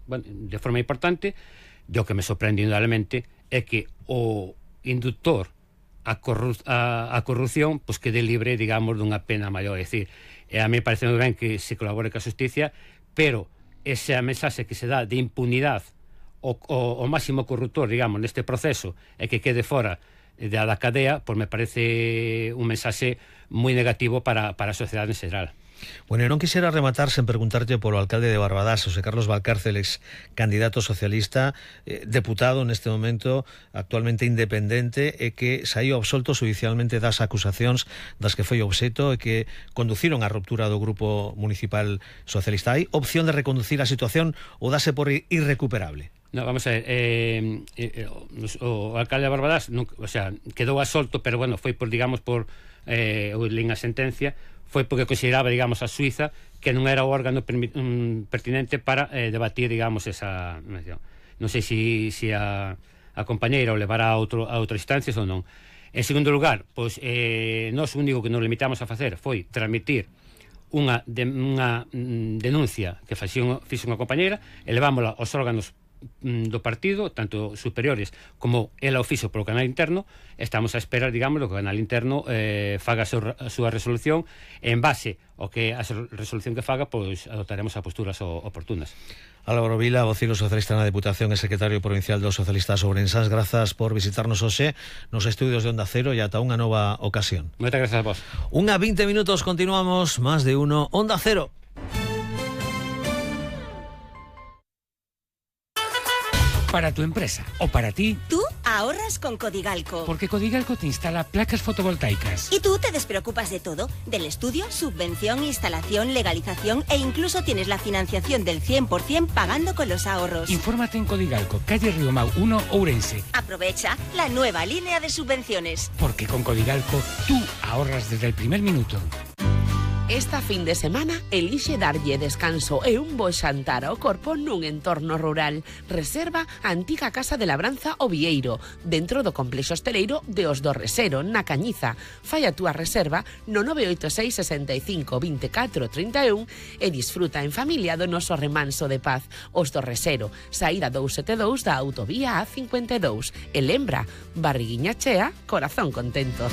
de forma importante. O que me sorprende indudablemente é que o inductor a corrupción pois quede libre, digamos, dunha pena maior. É dicir, a mí parece moi ben que se colabore ca xusticia, pero esa mensaxe que se dá de impunidade o máximo corruptor, digamos, neste proceso, e que quede fora da cadea, pois me parece un mensaxe moi negativo para a sociedade en xeral. Bueno, eu non quixera rematar sen preguntarte polo alcalde de Barbadás, José Carlos Valcárcel, ex candidato socialista, deputado neste momento, actualmente independente, e que saiu absolto judicialmente das acusacións das que foi obxecto e que conduciron á ruptura do grupo municipal socialista. Hai opción de reconducir a situación ou dase por irrecuperable? No, vamos a ver, o alcalde de Barbadás quedou absolto, pero bueno, foi por, digamos, por a sentencia, foi porque consideraba, digamos, a Suiza que non era o órgano pertinente para debatir, digamos, esa... Non sei se a compañeira o levará a outras instancias ou non. En segundo lugar, pois, nós o único que nos limitamos a facer foi transmitir unha denuncia que fixo unha compañeira e levámola aos órganos do partido, tanto superiores como ela o fixo polo canal interno. Estamos a esperar, digamos, que o canal interno faga a súa resolución, e en base ao que a resolución que faga, pois adoptaremos as posturas oportunas. Álvaro Vila, vocero socialista na Deputación e secretario provincial dos socialistas ourensás, grazas por visitarnos hoxe nos estudios de Onda Cero e ata unha nova ocasión. Moitas gracias a vos. 1:20 minutos, continuamos, más de uno, Onda Cero. Para tu empresa o para ti, tú ahorras con Codigalco. Porque Codigalco te instala placas fotovoltaicas. Y tú te despreocupas de todo, del estudio, subvención, instalación, legalización, e incluso tienes la financiación del 100% pagando con los ahorros. Infórmate en Codigalco, calle Riomau 1, Ourense. Aprovecha la nueva línea de subvenciones. Porque con Codigalco tú ahorras desde el primer minuto. Esta fin de semana elixe darlle descanso e un bo xantar ao corpo nun entorno rural. Reserva a antiga Casa de Labranza O Vieiro, dentro do complexo hosteleiro de Os do Resero, na Cañiza. Fai a túa reserva no 986 65 24 31 e disfruta en familia do noso remanso de paz. Os do Resero, saída 272 da autovía A52. E lembra, barriguiña chea, corazón contento.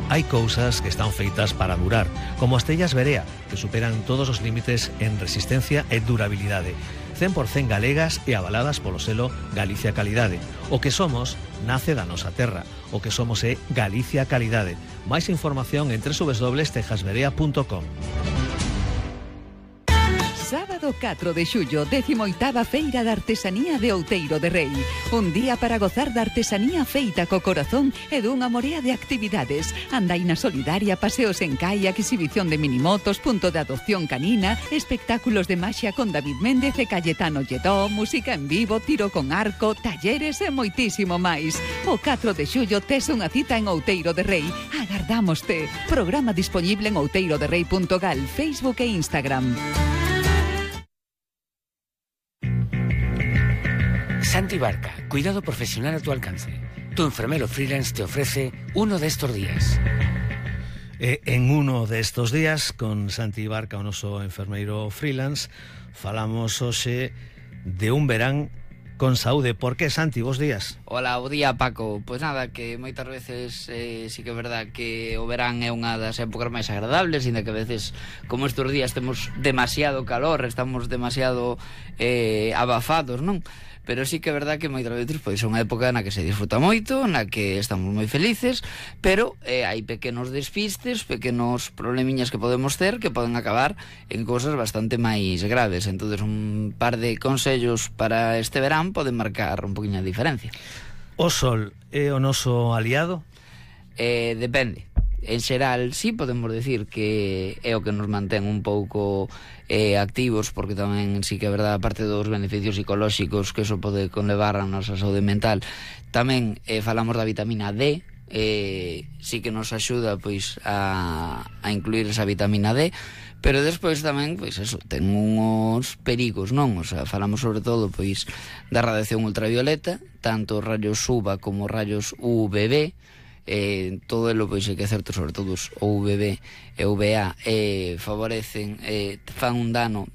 Hai cousas que están feitas para durar, como as tellas Berea, que superan todos os límites en resistencia e durabilidade. 100% galegas e avaladas polo selo Galicia Calidade. O que somos nace da nosa terra. O que somos é Galicia Calidade. Máis información en www.tejasberea.com. Sábado 4 de xullo, 18ª Feira de Artesanía de Outeiro de Rei. Un día para gozar da artesanía feita co corazón e dunha morea de actividades. Andaina solidaria, paseos en kayak, exhibición de minimotos, punto de adopción canina, espectáculos de maxia con David Méndez e Cayetano Lledó, música en vivo, tiro con arco, talleres e moitísimo máis. O 4 de xullo tes unha cita en Outeiro de Rei. Agardámoste. Programa disponible en outeiroderrei.gal, Facebook e Instagram. Santi Barca, cuidado profesional a tu alcance. Tu enfermero freelance te ofrece uno de estos días. En uno de estos días, con Santi Barca, o noso enfermeiro freelance, falamos hoxe de un verán con saúde. Por que, Santi? Bos días. Hola, bo día, Paco. Pois nada, que moitas veces sí que é verdad que o verán é unha das épocas máis agradables, ainda que a veces, como estes días, temos demasiado calor, estamos demasiado abafados, non? Pero sí que é verdad que moitas veces pois é unha época na que se disfruta moito, na que estamos moi felices, pero hai pequenos despistes, pequenos problemiñas que podemos ter que poden acabar en cousas bastante máis graves. Entonces, un par de consellos para este verán poden marcar un poquinho a diferencia. O sol é o noso aliado? Depende. En xeral, sí, podemos decir que é o que nos mantén un pouco activos, porque tamén sí que é verdade, aparte dos beneficios psicolóxicos que eso pode conlevar a nosa saúde mental, tamén falamos da vitamina D, sí que nos axuda pois a incluir esa vitamina D, pero despois tamén, pois eso, ten uns perigos, non? O sea, falamos sobre todo pois da radiación ultravioleta, tanto rayos UVA como rayos UVB. Todo elo, pois, é que é certo, sobre todo os UVB e UVA favorecen, fan un dano